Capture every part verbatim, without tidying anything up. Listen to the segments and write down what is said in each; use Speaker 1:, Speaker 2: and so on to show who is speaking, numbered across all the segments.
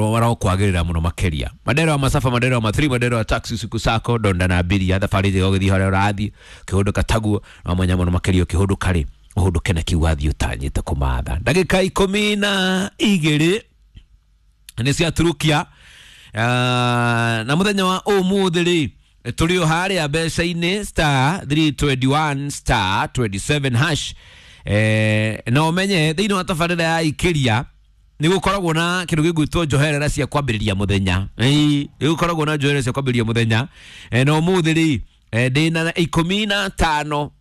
Speaker 1: Warokwagĩrĩra mũno makĩria. Mandero wa masafa, mandero wa mathiri, mandero wa taxi, siku sako donda na abiria thabarĩ njega ũgĩthiĩ harĩa ũrathiĩ ũkĩhũndũka taguo no mwanya mũno makĩria ũkĩhũndũka rĩ ũhũndũke na kiu wathiĩ ũtanyĩte kũmatha. Ndagĩka ikũmi na igĩrĩ nĩ ciaturukia. Uh, na mũthenya wa ũmũthĩ rĩ tũrĩ o harĩa mbeca-inĩ star three twenty-one star twenty-seven hash. Eh, na ũmenye thĩinĩ wa tabarĩra ya ikĩria nĩ gũkoragwo na kĩndũ gĩgwĩtwo njoherera cia kwambĩrĩria mũthenya. Ĩĩ, nĩ gũkoragwo na njoherera cia kwambĩrĩria mũthenya. Eh, na ũmũthĩ rĩ eh, ndĩna ikũmi na tano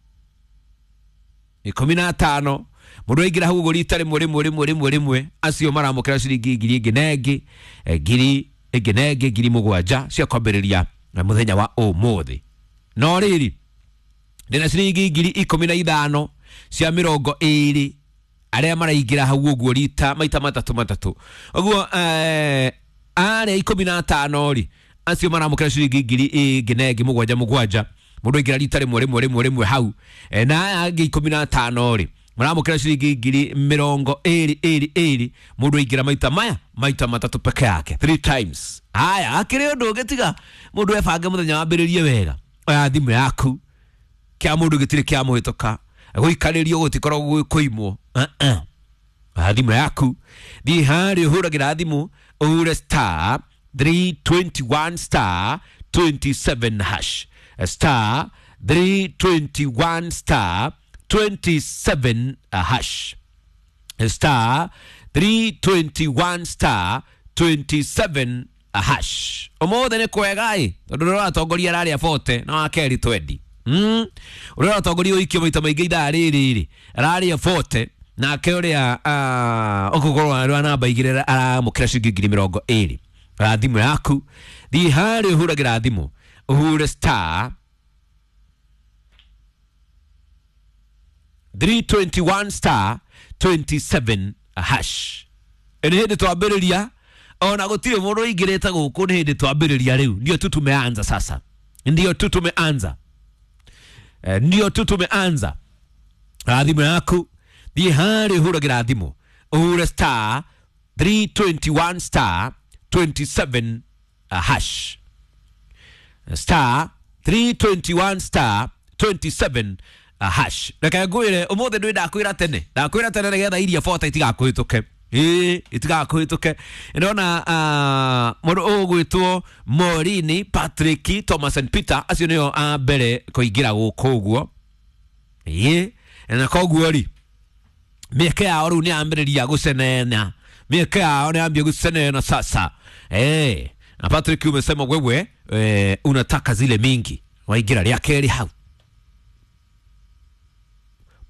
Speaker 1: ikũmi na tano mũndũ aingĩra hau ũguo rita rĩmwe rĩmwe rĩmwe rĩmwe rĩmwe acio maramũkĩra ciringi ngiri ĩngĩ na ĩngĩ ngiri ĩngĩ na ĩngĩ ngiri mũgwanja cia kwambĩrĩria mũthenya wa ũmũthĩ. No rĩrĩ ndĩna ciringi ngiri ikũmi na ithano cia mĩrongo ĩrĩ arĩa maraingĩra hau ũguo rita maita matatũ matatũ ũguo eh, arĩa ikũmi na atano rĩ acio maramũkĩra ciringi ngiri ĩngĩ na ĩngĩ mũgwanja mũgwanja mũndũ aingĩra rita rĩmwe rĩmwe rĩmwe rĩmwe hau eh, na aya angĩ ikũmi na atano rĩ maramũkĩra ciringi ngiri mĩrongo ĩrĩ ĩrĩ ĩrĩ mũndũ aingĩra maita maya maita matatũ peke yake three times. Haya akĩrĩ ũndũ ũngĩ tiga mũndũ ebange mũthenya wambĩrĩrie wega oya thimũ yaku kĩa mũndũ gĩtirĩ kĩa mũhĩtũka gũikarĩrio gũtikoragwo gwĩ kũimwo. Uh-uh. Oya thimũ yaku thiĩ harĩa ũhũragĩra thimũ ũhure star three twenty-one star twenty-seven hash star three twenty-one star twenty-seven hash star three twenty-one star twenty-seven hash. Ũmũthĩ nĩ kwega ĩ tondũ ũrĩa ũratongoria ararĩa forty na wa kerĩ twenty. Mm. Ũrĩa ũratongoria ũikio maita maingĩ ithaa rĩrĩ rĩ ararĩa forty nake ũrĩa ũgũkorwo arĩ wa namba igĩrĩ aramũkĩra ciringi ngiri mĩrongo ĩrĩ. Oya thimũ yaku thiĩ harĩa ũhũragĩra thimũ ũhure star three twenty-one star twenty-seven hash. Nĩ hĩndĩ twambĩrĩria ona gũtirĩ mũndũ ũingĩrĩte gũkũ nĩ hĩndĩ twambĩrĩria rĩu ndio tu tumeanza sasa, ndio tu tumeanza eh, ndio tu tumeanza. Thimũ yaku thiĩ harĩa ũhũragĩra thimũ ũhure star three twenty-one star twenty-seven hash star three twenty-one star twenty-seven hash. Reke ngwĩre ũmũthĩ ndĩ ndakwĩra tene ndakwĩra tene nĩgetha iria forty itigakũhĩtũke. Ĩĩ itigakũhĩtũke. Ndona mũndũ ũgwĩtwo Morini Patrick Thomas and Peter acio nĩo a mbere kũingĩra gũkũ ũguo. Ĩĩ na koguo rĩ mĩeke yao rĩu nĩ yambĩrĩria gũcenena mĩeke yao nĩ yambia gũcenena sasa. Eh, na Patrick umesema wewe eh, unataka zile mingi waingĩra rĩa kerĩ hau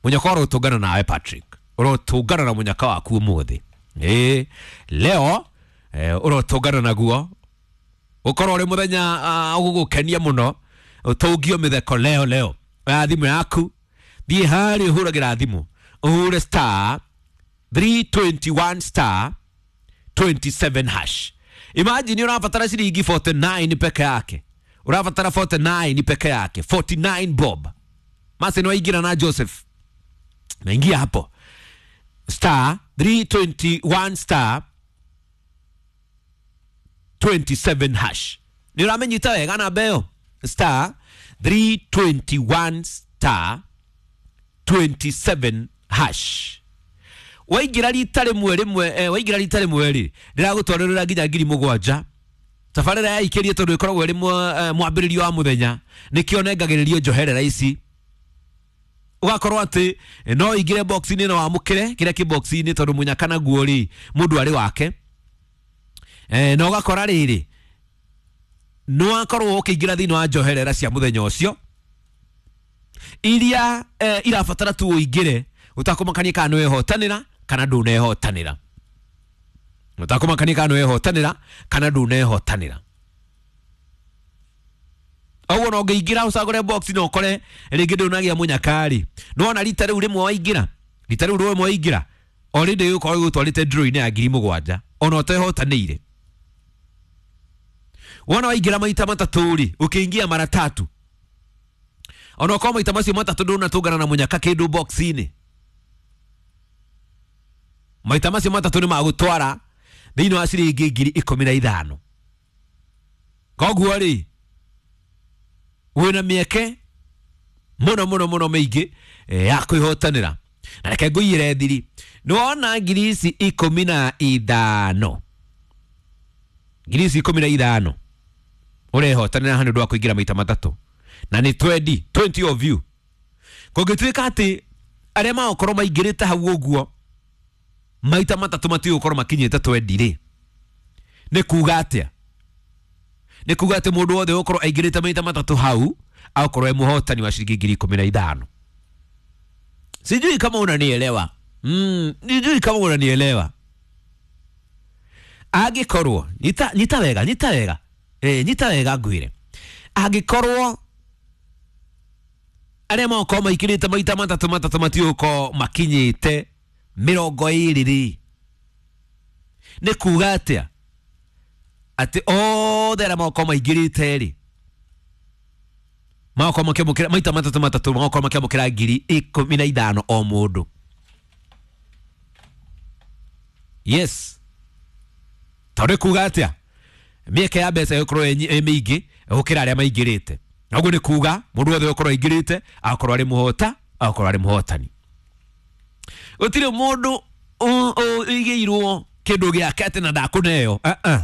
Speaker 1: munyaka ũrotũngana nawe Patrick ũrotũngana na munyaka waku ũmũthĩ. Ĩĩ leo eh, ũrotũngana naguo ũkorwo ũrĩ mũthenya ũgũgũkenia mũno ũtũngio mĩtheko leo leo. Oya thimũ yaku thiĩ harĩa ũhũragĩra thimũ ũhure star three twenty-one star twenty-seven hash. Imagine ũrabatara ciringi forty-nine peke yake ũrabatara forty-nine peke yake forty-nine bob. Mase nĩ waingĩra na Joseph naingia hapo star three twenty-one star twenty-seven hash. Nĩ ũramenyita wega namba ĩyo star three twenty-one star twenty-seven hash. Waingĩra rita rĩmwe rĩmwe eh, waingĩra rita rĩmwe rĩ ndĩragũtwarĩrĩra nginya ngiri mũgwanja. Tabarĩra ya ikĩrie tondũ ĩkoragwo ĩrĩ mwambĩrĩrio wa mũthenya nĩkĩo nengagĩrĩrio njoherera ici ũgakorwo atĩ no ingĩre box-inĩ na wamũkĩre kĩrĩa kĩ box-inĩ tondũ mũnyaka naguo rĩ mũndũ arĩ wake eh, na ũgakora rĩrĩ nĩ wakorwo ũkĩingĩra thĩinĩ wa njoherera cia mũthenya ũcio iria eh, irabatara tu ũingĩre ũtakũmakania kana nĩwehotanĩra kana ndũnehotanĩra ũtakũmakania kana nĩwehotanĩra kana ndũnehotanĩra. Ũguo no ũngĩingĩra ũcagũre box na ũkore rĩngĩ ndũnagĩa mũnyaka-rĩ nĩwona rita rĩu rĩmwe waingĩra rita rĩu rĩmwe waingĩra already ũkorwo ũgũtwarĩte draw-inĩ ya ngiri mũgwanja ona ũtehotanĩire. Wona waingĩra maita matatũ rĩ ũkĩingia mara tatu ona ũkorwo maita macio matatũ ndũnatũngana na mũnyaka kĩndũ box-inĩ maita macio matatũ nĩ magũtwara Thĩinĩ wa ciringi ngiri ikũmi na ithano. Koguo rĩ wĩna mĩeke mũno mũno mũno mĩingĩ ya kwĩhotanĩra. Na reke ngũiyĩre thiri, nĩwona ngiri ici ikũmi na ithano, ngiri ici ikũmi na ithano ũrehotanĩra haha nĩ ũndũ wa kũingĩra maita matatũ, na nĩ twenty, twenty of you. Kũngĩtuĩka atĩ arĩa magũkorwo maingĩrĩte hau ũguo maita matatũ matigũkorwo makinyĩte twenty rĩ, nĩ kuga atĩa? Nĩ kuga atĩ mũndũ wothe ũgũkorwo aingĩrĩte maita matatũ hau akorwo e mũhotani wa ciringi ngiri ikũmi na ithano. Sijui kama unanielewa. Mm, sijui kama unanielewa. Angĩkorwo nyita, nyita wega, nyita wega. Eh, nyita wega ngwĩre. Angĩkorwo arĩa magũkorwo maikĩrĩte maita matatũ matatũ matigũkorwo makinyĩte mĩrongo ĩrĩ rĩ, nĩ kuga atĩa? Atĩ othe arĩa magũkorwo maingĩrĩte rĩ, magũkorwo makĩamũkĩra maita matatũ matatũ, magũkorwo makĩamũkĩra ngiri ikũmi na ithano o mũndũ. Yes. Tondũ kuga atĩa? Mĩeke ya mbeca ĩgũkorwo ĩ mĩingĩ gũkĩra arĩa maingĩrĩte. Na ũguo nĩ kuga mũndũ wothe ũgũkorwo aingĩrĩte agakorwo arĩ mũhota, agakorwo arĩ mũhotani. Gũtirĩ mũndũ ũigĩirwo kĩndũ gĩake atĩ na ndakũneo. Uh-uh.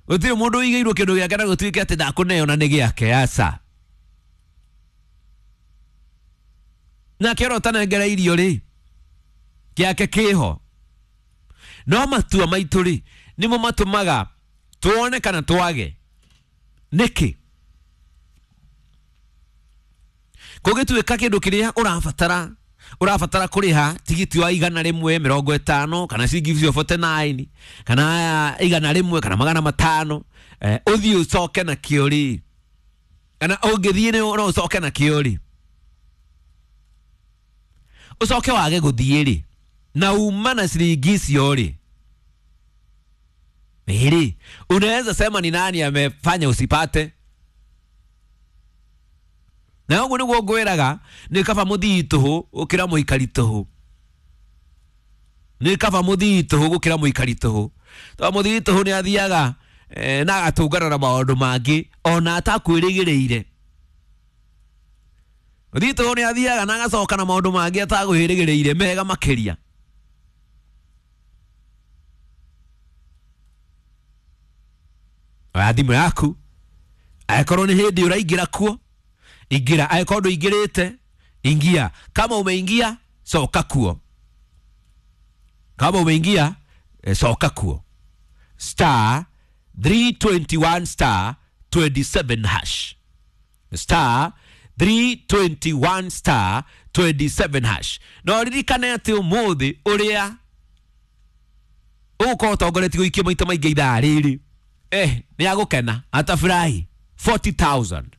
Speaker 1: Gũtirĩ mũndũ ũigĩirwo kĩndũ gĩake na gũtuĩke atĩ ndakũneo na nĩ gĩake, aca. Nake ũrĩa ũtanengera irio rĩ, gĩake kĩho. No matua maitũ rĩ, nĩmo matũmaga tuone kana twage. Nĩkĩ? Kũngĩtuĩka kĩndũ kĩrĩa ũrabatara, ũrabatara kũrĩha tigiti wa igana rĩmwe mĩrongo ĩtano kana ciringi forty nine kana igana rĩmwe kana magana matano, eh, ũthiĩ ũcoke nakĩo rĩ, kana ũngĩthiĩ no ũcoke nakĩo rĩ, ũcoke wage gũthiĩ rĩ, na uma na ciringi icio rĩ, rĩ, unaweza sema ni nani amefanya usipate? Na ũguo nĩguo ngwĩraga, nĩ kaba mũthii tũhũ gũkĩra mũikari tũhũ. Nĩ kaba mũthii tũhũ gũkĩra mũikari tũhũ. Tondũ mũthii tũhũ nĩ athiaga eh, na agatũngana na maũndũ mangĩ ona atakwĩrĩgĩrĩire. Mũthii tũhũ nĩ athiaga na agacoka na maũndũ mangĩ atakwĩrĩgĩrĩire mega makĩria. Oya thimũ yaku, angĩkorwo nĩ hĩndĩ ũraingĩra kuo, ingira. Angĩkorwo ndũingĩrĩte, ingia. Kama umeingia, coka kuo. Kama umeingia, coka kuo. Star three twenty-one star twenty-seven hash. Star three twenty-one star twenty-seven hash. No ririkane atĩ ũmũthĩ ũrĩa ũgũkorwo ũtongoretie gũikia maita maingĩ ithaa rĩrĩ, eh, nĩ agũkena, atafurahi. forty thousand.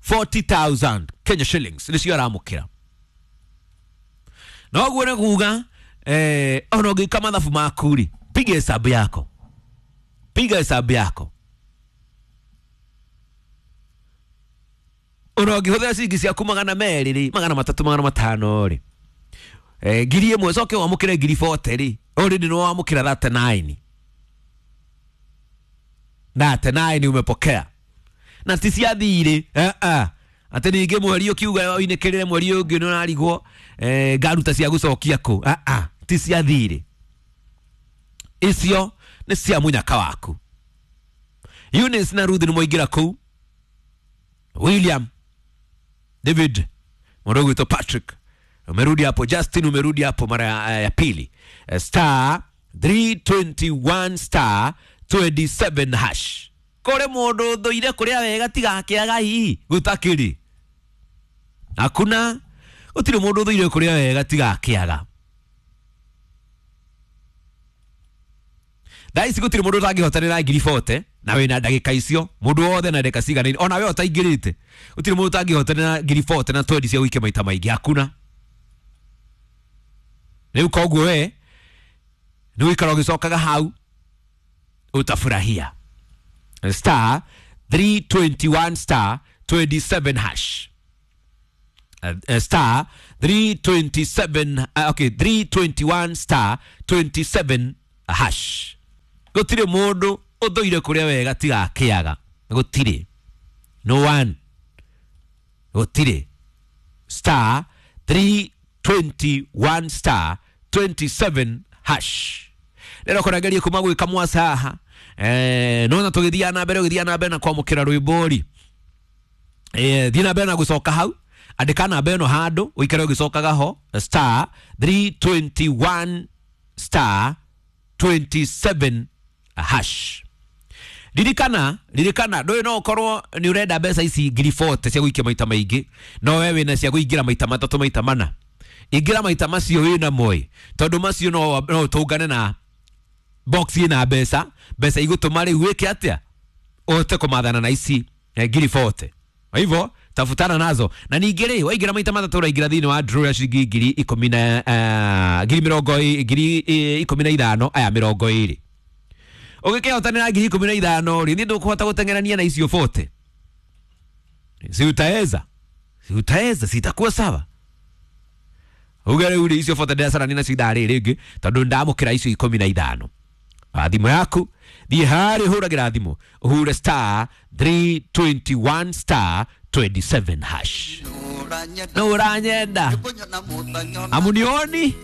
Speaker 1: forty thousand Kenya shillings nĩcio aramũkĩra. Na ũguo nĩ kuga eh, ona ũngĩka mathabu maku rĩ, piga hesabu yako, piga hesabu yako. Ona ũngĩhũthĩra ciringi ciaku magana merĩ rĩ, magana matatũ, magana matano rĩ, eh, ngiri ĩmwe ũcoke wamũkĩre ngiri forty rĩ, already nĩ wamũkĩra thirty nine. Thirty nine umepokea. Na ti cia thirĩ, eh, eh. Atĩ ningĩ mweri ũkiuga ũinĩkĩrĩre mweri ũngĩ nĩ ũrarigwo, eh, ngaruta cia gũcokia kũ. Ah, ah, ti cia thirĩ. Icio nĩ cia mũnyaka waku. Eunice na Ruth nĩ mwaingĩra kũu. William, David, mũndũ ũgwĩtwo Patrick, umerudi hapo. Justin umerudi hapo mara ya, ya pili. Star three twenty-one star twenty-seven hash. Kore mũndũ ũthũire kũrĩa wega tigakĩaga hihi gũtakĩrĩ. Hakuna, gũtirĩ mũndũ ũthũire kũrĩa wega tigakĩaga. Thaa ici gũtirĩ mũndũ ũtangĩhotanĩra ngiri forty na wĩna ndagĩka icio, mũndũ wothe na ndagĩka cigana ona we ũtaingĩrĩte, gũtirĩ mũndũ ũtangĩhotanĩra ngiri forty na twenty cia gũikia maita maingĩ, hakuna. Rĩu koguo we nĩ ũikara ũgĩcokaga hau utafurahia. Star three twenty-one star twenty-seven hash. Uh, uh, star three twenty-seven, uh, okay, three twenty-one star twenty-seven hash. Gũtirĩ mũndũ ũthũire kũrĩa wega tiga akĩaga. Gũtirĩ, no one, gũtirĩ. Star three twenty-one star twenty-seven hash. Rero kũrangeria kuma gwĩka mwasa haha, eh, nona tũgĩthiaga na mbere, ũgĩthiaga na mbere na kwamũkĩra rwĩmbo rĩ, eh, thiĩ na mbere na gũcoka hau, andĩka namba ĩno handũ ũikare ũgĩcokaga ho, star three twenty-one star twenty-seven hash. Ririkana, ririkana, ndũĩ, no ũkorwo nĩ ũrenda mbeca ici ngiri mĩrongo ĩna cia gũikia maita maingĩ, no we wĩna cia kũingĩra maita matatũ, maita mana. Ingĩra maita macio wĩna moĩ, tondũ macio no no ũtũngane na box ĩna mbeca, mbeca igũtũma rĩu wĩke atĩa, ũhote kũmathana na ici eh, ngiri mĩrongo ĩna. Kwa hivyo tafutana nazo. Na ningĩ rĩ, waingĩra maita matatũ, ũraingĩra thĩinĩ wa draw ya ciringi ngiri ikũmi na eh, ngiri mĩrongo ĩ- ngiri eh, ikũmi na ithano, aya mĩrongo ĩrĩ. Ũgĩkĩhotanĩra ngiri ikũmi na ithano rĩ, nĩ ndũkũhota gũteng'erania na icio mĩrongo ĩna? Si utaweza? Si utaweza? Si itakuwa sawa? Uge rĩu rĩ, icio mĩrongo ĩna ndĩracarania nacio ithaa rĩrĩ rĩngĩ, tondũ ndamũkĩra icio ikũmi na ithano. Ah, thimũ yaku, thiĩ harĩ hũragĩra thimũ, ũhure star three twenty-one star twenty-seven hash. No ũranyenda amunioni.